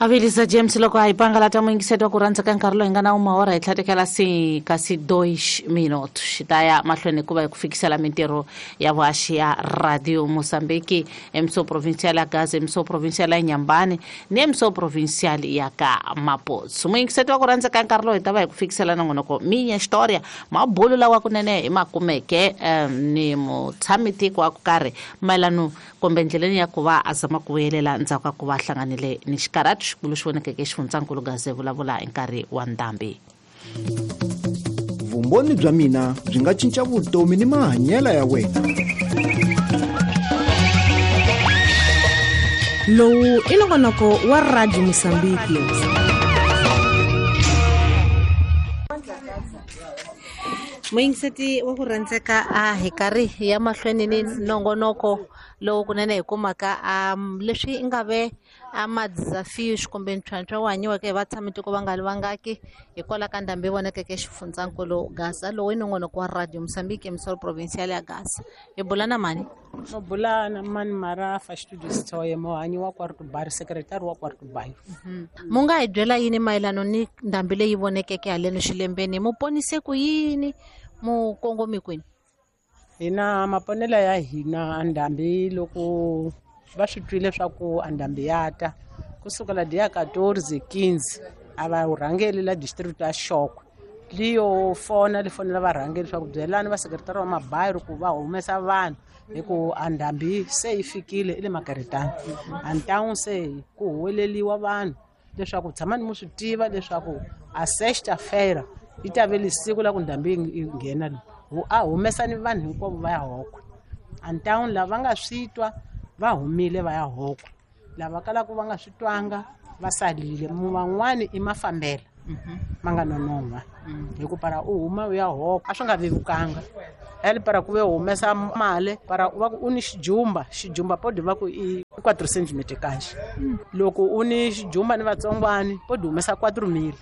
Avilisa James loko a hi pangalata muyingiseti wa ku rhandza ka nkarhi lowu hi nga na umahora hi tlhatekela si kasi dois minute xi ta ya mahlweni hikuva hi ku fikisela mintirho ya vuhaxi ya Radio Mozambique, emso provincial ya Gaza, emso provincial ya Nyambani ni emso provincial ya ka Mapotso. Muyingiseti wa ku rhandza ka nkarhi lowu hi ta va hi ku fikisela nongonoko Minha História, mabulu lawa kunene hi ma kumeke ni mutshami tiko wa ku karhi mayelano kumbe ndleleni ya ku va a zama ku vuyelela ndzhaku ka ku va hlanganile ni xikarhatu xikulu xi vonekeke xifundzankulu Gaza vulavula hi nkarhi wa ndhambi. Vumbhoni bya mina byi nga cinca vutomi ni mahanyelo ya wena. Lowu i nongonoko wa Radio Mosambiki. Muyingiseti wa ku rhandzeka a hi karhi ya mahlweni ni nongonoko lowu kunene hi kumaka leswi nga ve a ma-desafios kumbe ntlhontlho wu hanyiweke hi vatshamitiko va nga li vangaki hikwalaho ka ndhambi yi vonakeke xifundzankulu Gaza. Lowu i nongonoko wa Radio Mozambique, emisolo provincial ya Gaza. Hi bula na mani? Mo bula na mani Marafa Studio Sithoye, muhanyi wa Quarto Bairro, secretary wa Quarto Bairro. Mu nga hi byela yini mayelano ni ndhambi leyi vonekeke haleno xilembeni? Mu ponise ku yini? Mu kongomi kwini? Hina maponela ya hina ndhambi loko va swi twile swa ku ndhambi ya ta kusukela dia 14 15 a va rhangeli la district ya Xokwe liyo fona li fonela varhangeli swa ku byelani va sekretari wa mabayiro ku va humesa vanhu hi ku ndhambi se yi fikile i le Makeretana. Antawu se ku huweleliwa vanhu leswaku tshamani mu swi tiva leswaku a sexta-feira yi ta ve siku la ku ndhambi yi nghena a humesani vanhu hinkwavo va ya Hokwe. Antawu lava va nga swi twa va humile va ya Hokwe, lava kalaka va nga swi twanga va salile. Van'wani i mafambela ma nga nonon'hwa hi ku para u huma u ya Hokwe a swi nga vevukanga. Ele para ku ve humesa mali para va ku u ni xijumba, xijumba podi va ku i 4 cm kahle. Loko u ni xijumba ni vatsongwani podi humesa 4000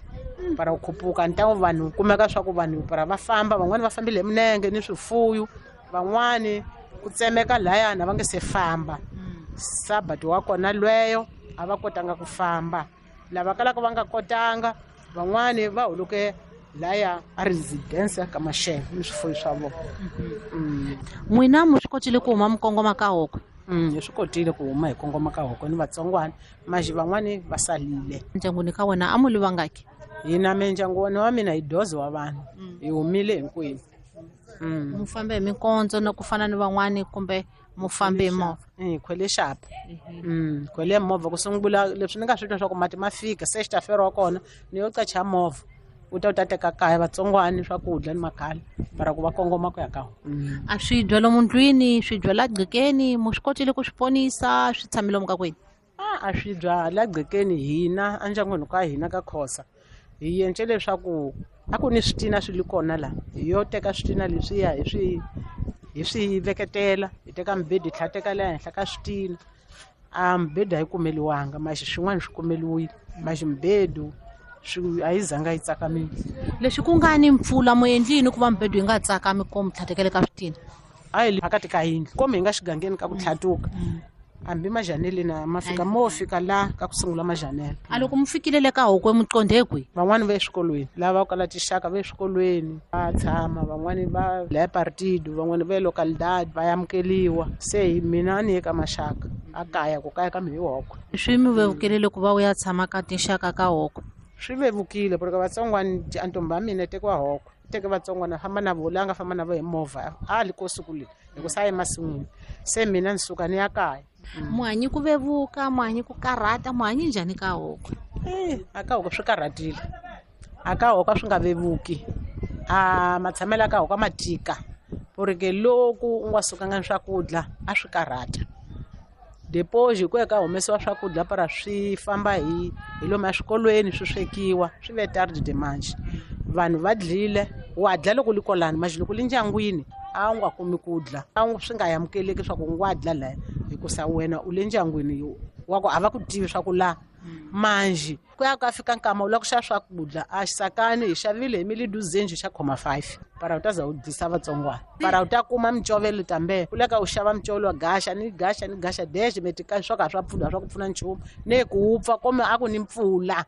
para u khupuka. Ntangu vanhu kumeka swa ku vanhu para va famba, van'wani va fambile hi minenge ni swifuyu, van'wani ku tsemeka layana va nge se famba. Sabati wa kona lweyo a va kotanga ku famba, lava kalaka va nga kotanga van'wani va huluke laya a residence ka Maxele ni swifuyo swa vona. N'wina mu swi kotile ku huma mi kongoma ka Hokwe? Hi swi kotile ku huma hi kongoma ka Hokwe ni vatsongwana, maxi van'wani va salile. Ndyangwini ka wena a mu li vangaki? Hina mindyangu wa mina hi doze wa vanhu, hi humile hinkwenu. Mu fambe hi mikondzo na ku fana ni van'wani kumbe mu fambe hi movha? Hi khwele xapa. Khwele movha ku sungula leswi ni nga swi twa swa ku mati ma fika sexta-feira wa kona ni yo qacha movha u ta u ta teka kaya vatsongwani swakudya ni makhala para ku va kongoma ku ya ka hona. A swi dya lomu ndlwini, swi dya la gqekeni, mu swi kotile ku swi ponisa, swi tshamile lomu ka kwini? A swi dya la gqekeni hina endyangwini ka hina ka Khosa hi yence leswaku a ku ni switina swi li kona la, hi yo teka switina leswiya hi swi veketela, hi teka mibedi hi tlhela teka le henhla ka switina. A mibedi a yi kumeliwanga, maxi swin'wana swi kumeliwile, maxi mibedu swi a yi zanga yi tsakamile. Leswi ku nga ni mpfula mu endli yini ku va mibedu yi nga tsakami ko mi tlhatekele ka switina? A hi le phakati ka yindlu, komi hi nga xigangeni ka ku tlhatuka. Hambi majanele na ma fika mo fika la ka ku sungula majanele. A loko mu fikile le ka Hokwe mu qondhe kwihi? Van'wani va eswikolweni, lava kala tixaka va eswikolweni va tshama, van'wani va la partido, van'wani va localidad va amukeliwa. Se hi mina ni ye ka maxaka a kaya, ku kaya ka mi hi Hokwe. Swi mi vevukile loko va u ya tshama ka tinxaka ka Hokwe? Swi vevukile porque vatsongwani antombi ya mina tekiwa Hokwe, teke vatsongwana famba na vo la nga famba na vo hi movha a li ko siku leri hi ku sa emasin'wini. Se mina ni suka ni ya kaya. Muhanyi ku vevuka, muhanyi ku karhata, muhanyi njhani ka Hokwe? A ka Hokwe swi karhatile, a ka Hokwe swi nga vevuki. A matshamelo ka Hokwe ma tika porque loko u nga sukanga ni swakudya a swi karhata. Depois hi ku ya ka humesiwa swakudya para swi famba hi lomu eswikolweni swi swekiwa swi ve tarde de manje. Vanhu va dlile, wa dya loko li kolani, maxi loko li ndyangwini a wu nga kumi ku dla, a wu swi nga amukeleki swa ku u nga dla laya hikusa wena u le ndyangwini wa ku a va ku tivi swa ku la Manji ku ya ka fika nkama u lava ku xava swakudya a xisakani hi xavile hi miliduzenji xa khoma 5 para u ta za u dlisa vatsongwana para u ta kuma micovelo tambe u leka u xava micovelo wa gaxa ni gaxa ni gaxa dexe meti swo ka swa pfuna swa ku pfuna nchumu ne ku wupfa kome a ku ni mpfula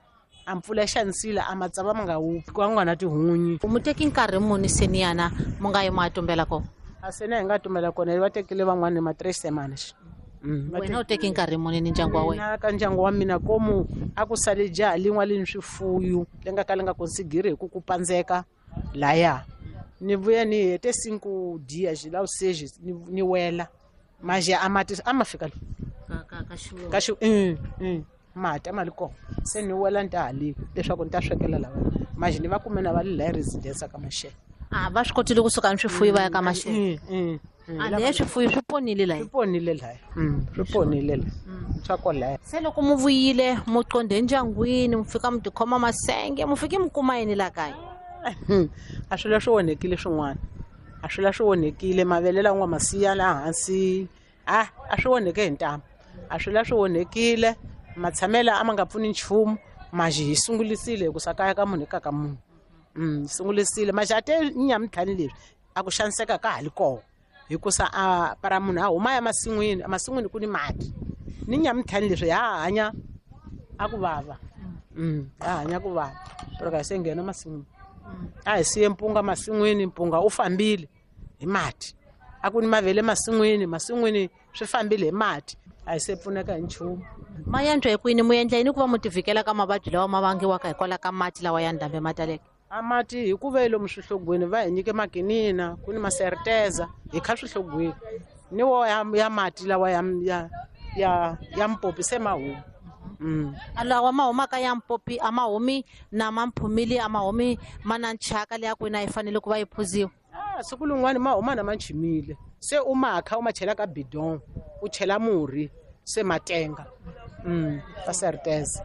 a mpfula yi xanisile a matsava ma nga wupfi ku nga na tihunyi. Mu teki nkarhi muni seni yana mu nga yi mu ya tumbela kona? A seni hi nga tumbela kona va tekile van'wani ma 3 semanas. Wena u teki nkarhi muni ni ndyangu wa wena? Ka ndyangu wa mina komu a ku sale jaha lin'wa li ni swifuyu li nga ka li nga konsigiri hi ku ku pandzeka laya ni vuya ni hete 5 dias la 6 ni wela manje a mati a ma fika ka xi mati a ma li kona se ni wela ni ta halika leswaku ni ta swekela lava manje ni va kume na va li la residence ka Maxele. A va swi kotile kusuka ni swifuyu va ya ka Maxele. A leya swifuyu swi ponile laya. Swi ponile laya. Swi ponile laya. Swa kwalaya. Se loko mu vuyile mu qonde endyangwini mu fika mu tikhoma masenge mu fike mu kuma yini la kaya? A swi la swi onhekile swin'wana. A swi la swi onhekile mavele lawa nga masiya la hansi. A swi onheke hi ntamu. A swi la swi onhekile matshamela a ma nga pfuni nchumu maji hi sungulisile ku sakaya ka munhu ka munhu. Sungulisile maji a te nyamutlhani leswi a ku xaniseka ka ha li kona hikusa a para munhu a huma ya masin'wini emasin'wini ku ni mati ni nyamutlhani leswi ha hanya a ku vava. Ha hanya ku vava pero ka se nghena masin'wini a hi siye mpunga masin'wini mpunga u fambile hi mati a ku ni mavele masin'wini masin'wini swi fambile hi mati a hi se pfuneka hi nchumu. Ma yantswa hi kwini mu endla yini ku va mu tivikela ka mavabyi lawa ma vangiwaka hikwalaho ka mati lawa ya ndhambi ma taleke? A mati hikuva lomu swihlogweni va hi nyike makinina ku ni maserteza hi kha swihlogweni ni wo ya mati lawa ya mpopi se ma huma. Lawa ma humaka ya mpopi a ma humi na mamphumili a ma humi ma na nchaka leya kwini a yi fanele ku va yi phuziwa. Siku lin'wani ma huma na ma nchimile se u ma kha u ma chela ka bidon u chela murhi se matenga ka serteza.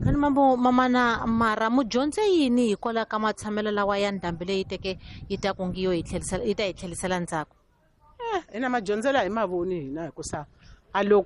Kani mambo mamana mara mu dyondze yini hikwalaho ka matshamelo lawa ya ndhambi leyi teke yi ta ku ngiyo yi tlhelisela yi ta hi tlhelisela ndzhaku? Hina madyondzela hi mavoni hina hikusa a loko